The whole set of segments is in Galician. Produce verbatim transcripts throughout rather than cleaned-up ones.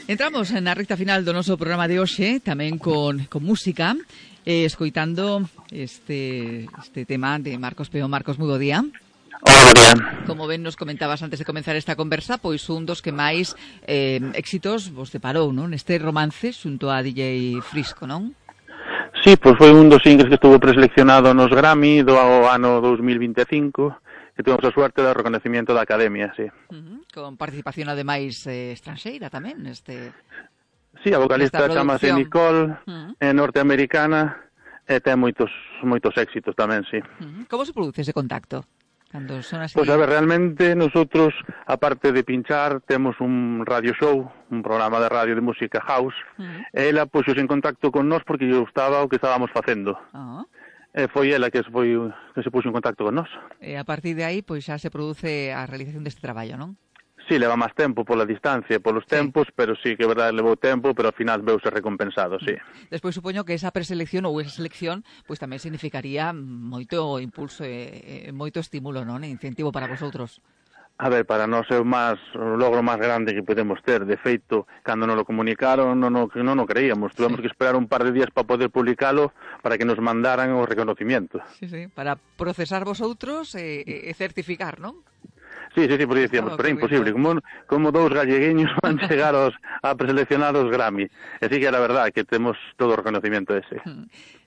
Entramos na recta final do noso programa de hoxe, tamén con, con música, eh, escoitando este, este tema de Marcos Peón. Marcos, moi bo día. Hola, María. Como ben nos comentabas antes de comenzar esta conversa, pois un dos que máis eh, éxitos vos deparou, non? Este romance xunto a D J Frisco, non? Sí, pois foi un dos singles que estuvo preseleccionado nos Grammy do ano dos mil vinte e cinco, que tuvemos a suerte do reconocimiento da Academia, sí. Uh-huh. Con participación ademais eh, estranxeira tamén, este... Sí, a vocalista chamase Nicole, uh-huh. é norteamericana, e ten moitos moitos éxitos tamén, sí. Uh-huh. Como se produce ese contacto? Cando son así... Pois a ver, realmente nosotros, aparte de pinchar, temos un radio show, un programa de radio de música house, uh-huh. e ela puxose en contacto con nós porque lle gustaba o que estábamos facendo. Uh-huh. E foi ela que se, foi, que se puxo en contacto con nós. E a partir de aí, pois xa se produce a realización deste traballo, non? Sí, leva máis tempo pola distancia, polos sí. tempos, pero sí que é verdade, levou tempo, pero ao final veuse recompensado, sí. Despois supoño que esa preselección ou esa selección pois tamén significaría moito impulso e, e moito estímulo, non? E incentivo para vosotros. A ver, para nós é o máis o logro máis grande que podemos ter. De feito, cando nos lo comunicaron, non no, non no creíamos. Tuvemos sí. que esperar un par de días para poder publicalo para que nos mandaran o reconocimiento. Sí, sí, para procesar vosotros e, e certificar, non? Sí, sí, sí, porque decíamos, pero é imposible, como, como dous gallegueños van chegar aos, a preseleccionar os Grammy. Así que é a verdade que temos todo o reconocimiento ese.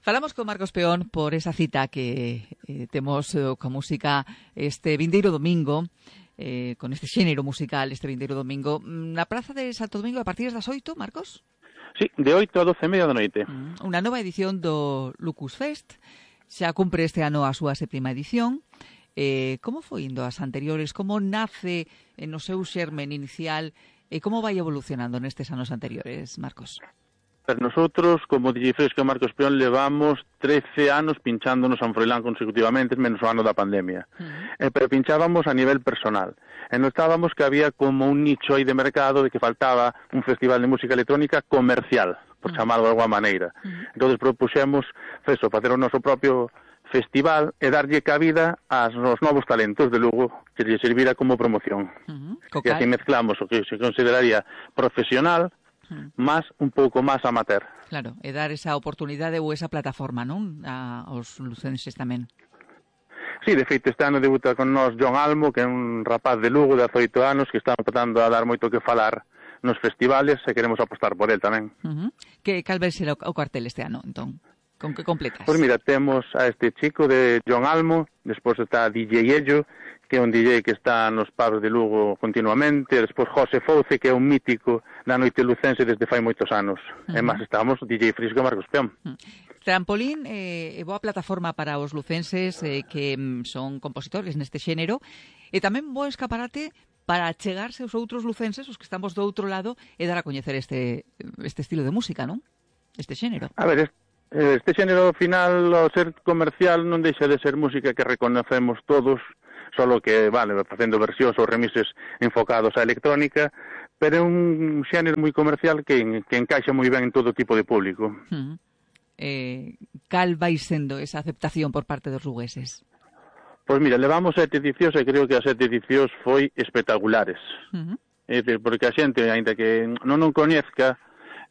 Falamos con Marcos Peón por esa cita que eh, temos eh, con música este vindeiro domingo, eh, con este xénero musical este vindeiro domingo, na Praza de Santo Domingo a partir das oito, Marcos? Sí, de oito a doce e media da noite. Unha nova edición do Lucus Fest, xa cumpre este ano a súa sétima edición. Eh, como foi indo as anteriores? Como nace no seu xermen inicial e como vai evolucionando nestes anos anteriores, Marcos? Nosotros, como D J Frisco e Marcos Peón, levamos trece anos pinchando no San Froilán consecutivamente, menos o ano da pandemia. Uh-huh. Eh, pero pinchábamos a nivel personal. E notábamos que había como un nicho aí de mercado de que faltaba un festival de música electrónica comercial, por uh-huh. chamarlo de alguma maneira. Uh-huh. Entón, propuxemos, feso, facer o noso propio festival e darlle cabida aos novos talentos de Lugo que lle servira como promoción. Uh-huh. E así mezclamos o que se consideraría profesional uh-huh. máis un pouco máis amateur. Claro, e dar esa oportunidade ou esa plataforma, non? A, aos lucenses tamén. Sí, de feito, este ano debuta con nós John Almo, que é un rapaz de Lugo de dezoito anos que está empezando a dar moito que falar nos festivales e queremos apostar por el tamén. Uh-huh. Que cal vai ser o, o cartel este ano, entón? Con que completas? Pois mira, temos a este chico de John Almo, despois está D J Ello, que é un D J que está nos pubs de Lugo continuamente, despois José Fouce, que é un mítico da noite lucense desde fai moitos anos. Uh-huh. E máis estamos D J Frisco e Marcos Peón. Uh-huh. Trampolín é eh, boa plataforma para os lucenses eh, que mm, son compositores neste xénero, e tamén bo escaparate para chegarse aos outros lucenses, os que estamos do outro lado, e dar a coñecer este, este estilo de música, non? Este xénero. A ver, este Este xénero final, ao ser comercial, non deixa de ser música que reconocemos todos, solo que, vale, facendo versións ou remises enfocados á electrónica, pero é un xénero moi comercial que, que encaixa moi ben en todo tipo de público. Uh-huh. Eh, cal vai sendo esa aceptación por parte dos lugueses? Pois mira, levamos sete edicións e creo que as sete edicións foi espectaculares. Uh-huh. É dicir, porque a xente, ainda que non non coñezca,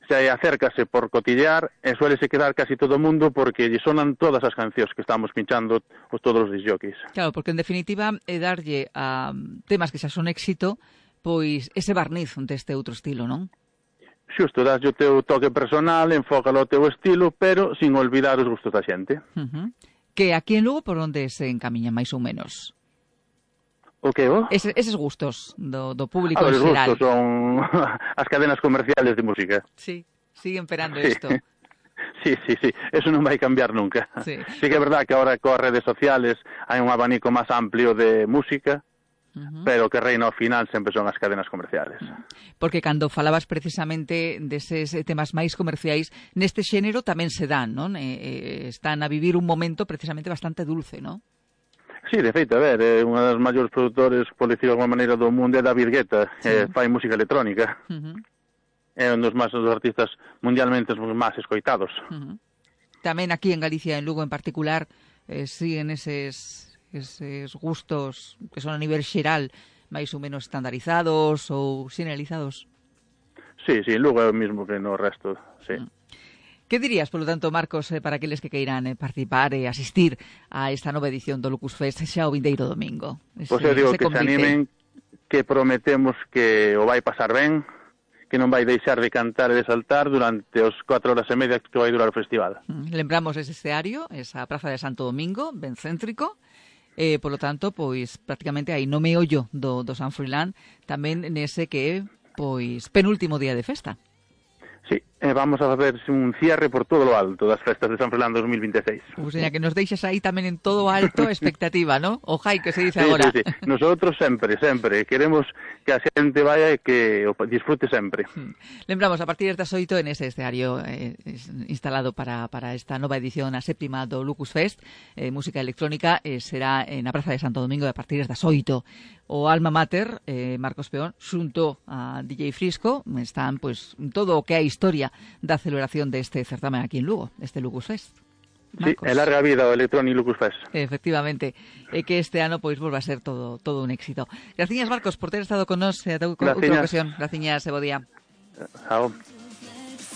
se acércase por cotillear e suélese quedar casi todo o mundo porque lle sonan todas as cancións que estamos pinchando os todos os disjockeys. Claro, porque en definitiva é darlle a temas que xa son éxito pois ese barniz deste outro estilo, non? Xusto, das o teu toque personal, enfócalo ao teu estilo, pero sin olvidar os gustos da xente. Uh-huh. Que aquí en Lugo por onde se encamiña máis ou menos? O que, o? Ese, eses gustos do, do público en xeral. Os gustos son as cadenas comerciales de música. Sí, siguen esperando isto. Sí, sí, sí, eso non vai cambiar nunca. Sí, sí que é verdad que ahora coas redes sociales hai un abanico máis amplio de música, uh-huh. pero que reina ao final sempre son as cadenas comerciales. Porque cando falabas precisamente deses temas máis comerciais, neste xénero tamén se dan, non? Eh, eh, están a vivir un momento precisamente bastante dulce, non? Sí, de feito, a ver, é unha das maiores produtores, por decir de alguma maneira, do mundo é David Guetta, sí. eh, fai música electrónica. Uh-huh. É un dos máis dos artistas mundialmente máis escoitados. Uh-huh. Tamén aquí en Galicia, en Lugo en particular, eh, siguen eses, eses gustos que son a nivel xeral máis ou menos estandarizados ou xeneralizados. Sí, sí, Lugo é o mismo que no resto, sí. Mm. Que dirías, polo tanto, Marcos, eh, para aqueles que queiran eh, participar e asistir a esta nova edición do Lucus Fest xa o vindeiro domingo? Ese, pois eu digo que convite. Se animen, que prometemos que o vai pasar ben, que non vai deixar de cantar e de saltar durante os cuatro horas e media que vai durar o festival. Mm, lembramos ese escenario, esa Praza de Santo Domingo, ben céntrico, eh, polo tanto, pois, prácticamente aí no meollo do, do San Froilán, tamén nese que é, pois, penúltimo día de festa. Sí, eh, vamos a ver un cierre por todo lo alto das festas de San Froilán dos mil veintiséis. Pues seña, que nos deixes aí tamén en todo alto expectativa, ¿no? O jai, que se dice sí, agora. Sí, sí, nosotros sempre, sempre. Queremos que a xente vaya e que o disfrute sempre. Lembramos, a partir das oito en ese escenario eh, instalado para, para esta nova edición, a séptima do Lucus Fest, eh, música electrónica, eh, será na Praza de Santo Domingo a partir das oito. O Alma Mater, eh, Marcos Peón, xunto a D J Frisco, están pues todo o que é a historia da celebración deste certamen aquí en Lugo, deste Lucus Fest. Marcos. Sí, é larga vida o Electronic Lucus Fest. Efectivamente, e que este ano pois volva a ser todo todo un éxito. Graciñas, Marcos, por ter estado con nós e eh, outra ocasión. Graciñas, e bo día. Chao.